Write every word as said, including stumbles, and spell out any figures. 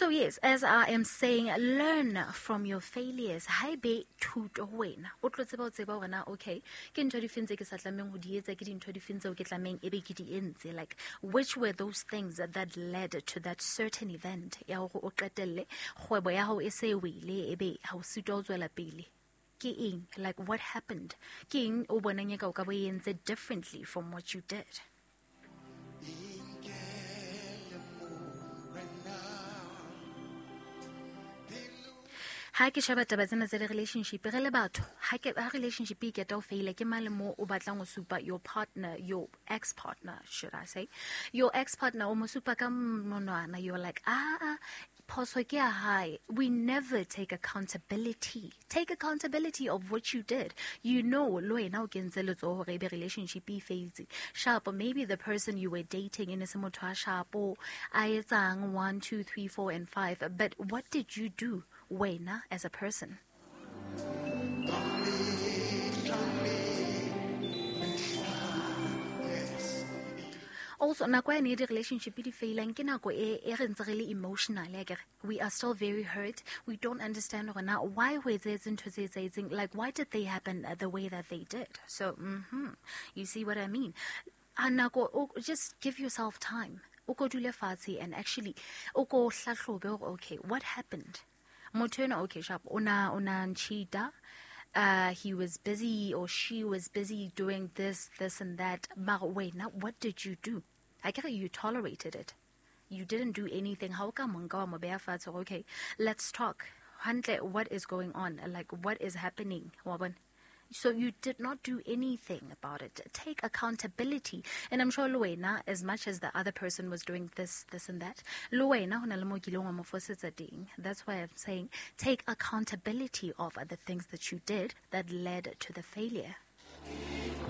So yes, as I am saying, learn from your failures. Ha ebe thuto ho wena. O tlo tseba ho tseba hore na, okay, ke ntho difeng tse ke sa tlamehang ho di etsa, ke dintho difeng tseo ke tlamehang ebe ke di entse. Like, which were those things that led to that certain event ya hore o qetelle kgwebo ya hao e se wele, ebe ha o sitwa ho tswela pele? Ke eng? Like, what happened? Ke eng o bonang eka o ka bo e entse differently from what you did? Ha ke sheba taba tsena tsa di-relationship, re le batho, ha ke, ha relationship e keta ho faila, ke mang le mo o batlang ho supa your partner, your ex-partner, should I say, your ex-partner, o mo supa ka monwana, you're like, ah, phoso ke ya hae. We never take accountability. Take accountability of what you did. You know, le wena o kentse letsoho hore ebe relationship e failed. Sharp, maybe the person you were dating e ne se motho a sharp, a etsang one, two, three, four, and five. But what did you do, wena, as a person? Also, nako ya ne di-relationship di failang ke nako e, e re ntse re le emotional, ya kere. We are still very hurt. We don't understand hore na why ho etsahetse ntho tse etsahetseng. Like, why did they happen the way that they did? So, mm-hmm, you see what I mean? A nako, o, just give yourself time. O ko dule fatshe and actually, o ko hlahlobe hore, okay, what happened? Motho enwa, okay, sharp, o na, o na ncheata. Uh, he was busy or she was busy doing this, this and that. Mara, wait, now what did you do? I get you tolerated it. You didn't do anything. How come o nka wa mo beha fatshe hore, okay, let's talk. Hantle, what is going on? Like, what is happening? Wa bona? So you did not do anything about it. Take accountability. And I'm sure le wena, as much as the other person was doing this, this and that, le wena ho na le mo kileng wa mo fosetsa teng. That's why I'm saying take accountability of the things that you did that led to the failure.